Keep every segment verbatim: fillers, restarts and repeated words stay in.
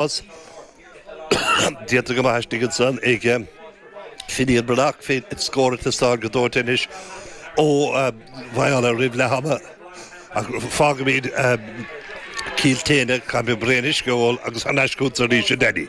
Déanta go maith istigh ansan ag Finian Breathnach fé scór ag teastáil go dóite anois ó Mhaigh Átha roimh leath ama. Ach fágaimid Cill tSéadhna, caithfidh mé braon uisce a ól agus thar n-ais chugat arís a Danny.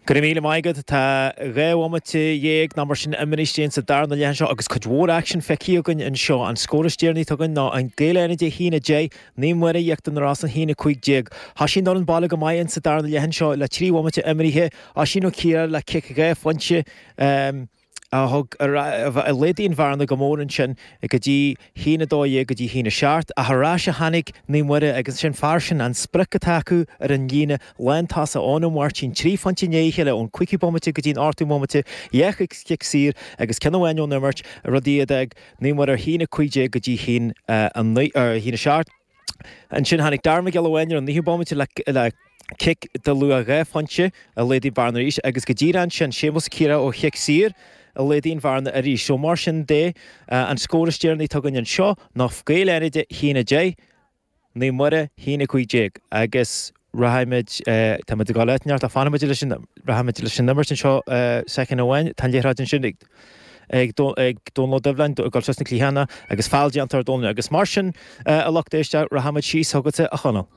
Go raibh míle maith agat. Tá dhá bhomaite dhéag nó mar sin imithe istigh sa darna leath anseo agus cuid mhór aicsin feicthe againn anseo. An scór is deireanaí atá againn ná an Gaeil Fhánada a haon a deich, Naomh Muire Íochtar na Rosann a haon a cúig déag. Thosaigh an fhoireann baile go maith in sa darna leath anseo le trí bhomaite imithe, Oisín Ó Ciardha le cic dhá phointe. A thug a laghdaigh an bhearna go mór ansin go dtí haon a dó dhéag go dtí haon a seacht, ach ar ais a tháinig Naomh Muire agus sin fear sin an sprioc atá acu ar an líne lántosach Eoin Ó Máirtín, trí phointe i ndiaidh a chéile ón cúigiú bomaite go dtí an ochtú bomaite, dhá chic saor agus ceann amháin ón imirt, rud a d'fhág Naomh Muire ar haon a cúig déag go dtí haon a naoi, haon a seacht. Ansin tháinig Darragh Mac Giolla Bháin ar an naoú bomaite le cic de luach dhá phointe a laghdaigh bearna arís agus go díreach ansin Séamus Ciara ó chic saor a laghdaigh an bhearna arís. So mar sin de, an scór is deireanaí atá againn anseo ná Gaeil Fhánada a haon a deich, Naomh Muire a haon a cúig déag agus rachaimid, táimid ag dul áit neart ach fanfaimid leis an, rachaimid leis an imirt anseo soicind amháin. Tá an liathróid ansin ag ag Dónal Ó Doibhlin ag dul suas na cliathána agus feall déanta ar Dónal agus mar sin a lucht éisteachta rachaimid síos chugatsa a Chonaill.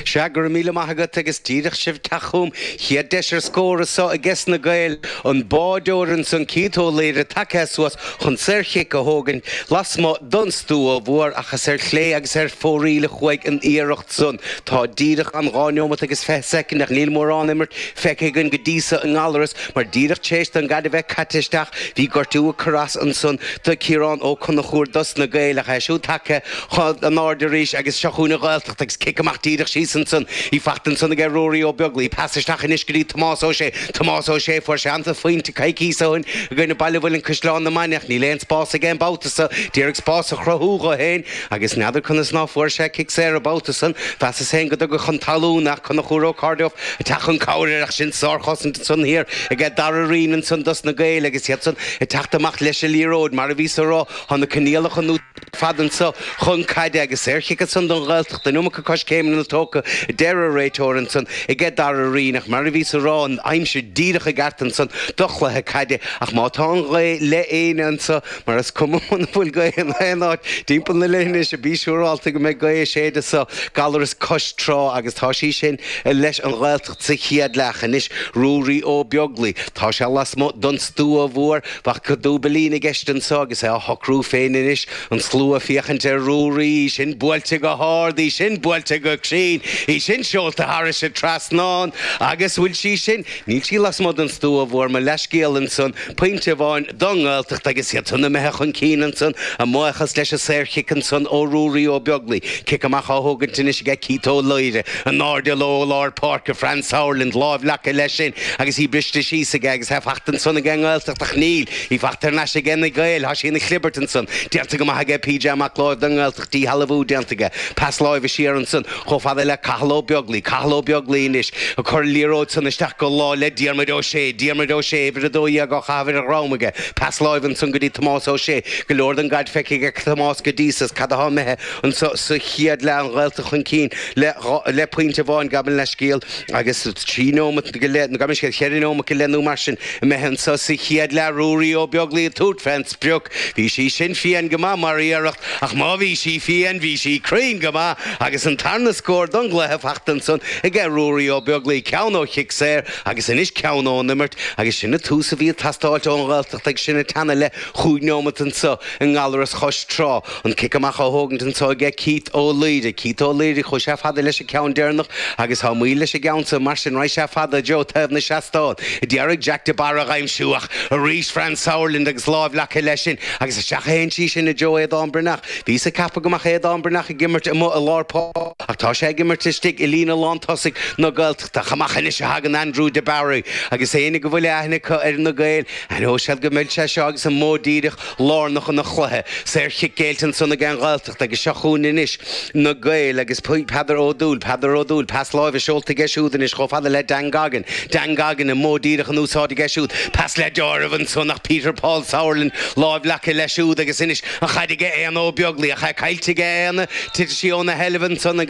Sea, go raibh míle maith agat agus díreach sibh teacht chugam. Chéad deis ar scór anso ages na Gaeil, an báideoir ansan Keith Ó Laoire tagtha suas chun saorchic a thógaint lasmuigh don stua mhór ach is ar chlé agus ar fóraoil a chuaigh an iarracht san. Tá díreach an dhá neomat agus fiche soicind ach níl mórán imirt feicthe againn go dtí so i nGallaras mar díreach tar éis don gcaid a bheith caite isteach bhí gortú ag cur as ansan do Ciarán Ó Conchúir dos na Gaeil ach é siúd tagtha chun an aird arís agus seo chugainn an Ghaeltacht agus cic amach díreach síos ansan í fachta ansan aige Ruairí Ó Beaglaoi. Pas isteach anois go dtí Tomás Ó Sé. Tomás Ó Sé, fuair sé an-phointe coicíos ó shin i gcoinne Baile Mhuilinn Caisleán na Maineach. Níl aon spás aige an babhta so. D'iarraidh spás a chruthú dho fhéin agus n'fheadar conas ná fuair sé cic saor an babhta san. Mheasas féin go dtugadh chun talún ach Conchúr Ó Cairdeof ag teacht chun cabhair air ach sin sárchosaint ansan thiar aige Dara Rín ansan dos na Gaeil agus iad san ag teacht amach leis an liathróid mar a bhíos a rá tá na coinníollacha nó fad anso chun caide agus saorchic ansan don Ghaeltacht, an iomarca coiscéimeanna tógtha, a deir an réiteoir ansan aige Dara Rín ach mar a bhíos a rá, an aimsir díreach i gceart ansan do chluiche caide ach má tá an ghaoth le éinne anso, mar is cuma muna bhfuil gaoth in aon áit timpeall na leithinise, bí siúrálta go mbeidh gaoth ag séideadh so Gallaras cois trá agus tá sí sin leis an Ghaeltacht sa chéad leath anois. Ruairí Ó Beaglaoi, tá sé lasmuigh don stua mhór, bheadh dúbailín i gceist anso agus é á shocrú féin anois, an slua ag féachaint ar Ruairí, í sin buailte go hard, í sin buailte go cruinn, í sin seolta thairis an trasnán agus bhfuil sí sin, níl sí lasmuigh den stua mhór, mo leithscéal ansan, pointe amháin don nGaeltacht agus iad san imithe chun cinn ansan, a mbuíochas leis an saorchic ansan ó Ruairí Ó Beaglaoi, cic amach á thógaint anois aige Keith Ó Laoire, in airde ó lár páirce, Fran Sauerland, lámh leagtha leis sin agus í briste síos aige agus é fachta ansan ag an nGaeltacht ach níl í fachta thar n-ais aige na Gaeil, tá sí ina chlibirt ansan, déanta go maith aige PJ Mac Láimh don nGaeltacht, díshealbhú déanta aige, pas láimhe siar ansan chomh fada le Cathal Ó Beaglaoi, Cathal Ó Beaglaoi anois ag cur an liathróid san isteach go lámh le Diarmuid Ó Sé, Diarmuid Ó Sé, uimhir a dó dhéag á chaitheamh ar a dhrom aige, pas láimhe ansan go dtí Tomás Ó Sé, go leor den gcaid feicthe aige Tomás go dtí so, cad atá imithe anso sa chéad leath, an Ghaeltacht chun cinn le le pointe amháin, gabh mo leithscéal, agus trí nóimeat go leith, nó gabh mo leithscéal, cheithre nóimeat go leith nó mar sin imithe anso sa chéad leath, Ruairí Ó Beaglaoi ag tabhairt fén sprioc. Bhí sí sin fiáin go maith mar iarracht, ach má bhí sí fiáin, bhí sí cruinn go maith agus an tarna scór don gcluiche fachta ansan aige Ruairí Ó Beaglaoi, ceann ó chic saor agus anois ceann ón imirt agus sin an tús a bhí ag teastáilt ón Ghaeltacht agus sinn ag teannadh le chúig nóimeat anso i nGallaras Chois Trá. An cic amach á thógaint anso aige Keith Ó Laoire. Keith Ó Laoire, chuaigh sé fada leis an ceann deireanach agus tá moill leis an gceann so, mar sin raghaidh sé fada i dtreo taobh na seastán. D'iarraidh Jack de Barra a dh'aimsiú ach arís Fran Sauerland agus lámh leagtha leis sin agus isteach a théann sí sin i dtreo Aodán Breathnach. Bhíos ag ceapadh go mbeadh Aodán Breathnach ag imirt amuigh i lár páirce ach tá sé ag imirt istigh i líne lántosaigh na Gaeltachta. Amach anois a thagann Andrew de Barry agus éinne go bhfuil aithne acu ar na Gaeil, aithneoidh siad go mbeidh sé seo agus an modh díreach lárnach ina chluiche. Saorchic géillte ansan ag an Ghaeltacht agus seo chugainn anois na Gaeil agus Peadar Ó Dúill, Peadar Ó Dúill, pas láimhe seolta aige siúd anois chomh fada le Dan Goggin, Dan Goggin an modh díreach in úsáid aige siúd, pas le deáramh ansan ach Peter Paul Sauerland láimh leagtha leis siúd agus anois an chaid aige Éanna Ó Beaglaoich, caillte aige Éanna, titeann sí óna sheilbh ansan agus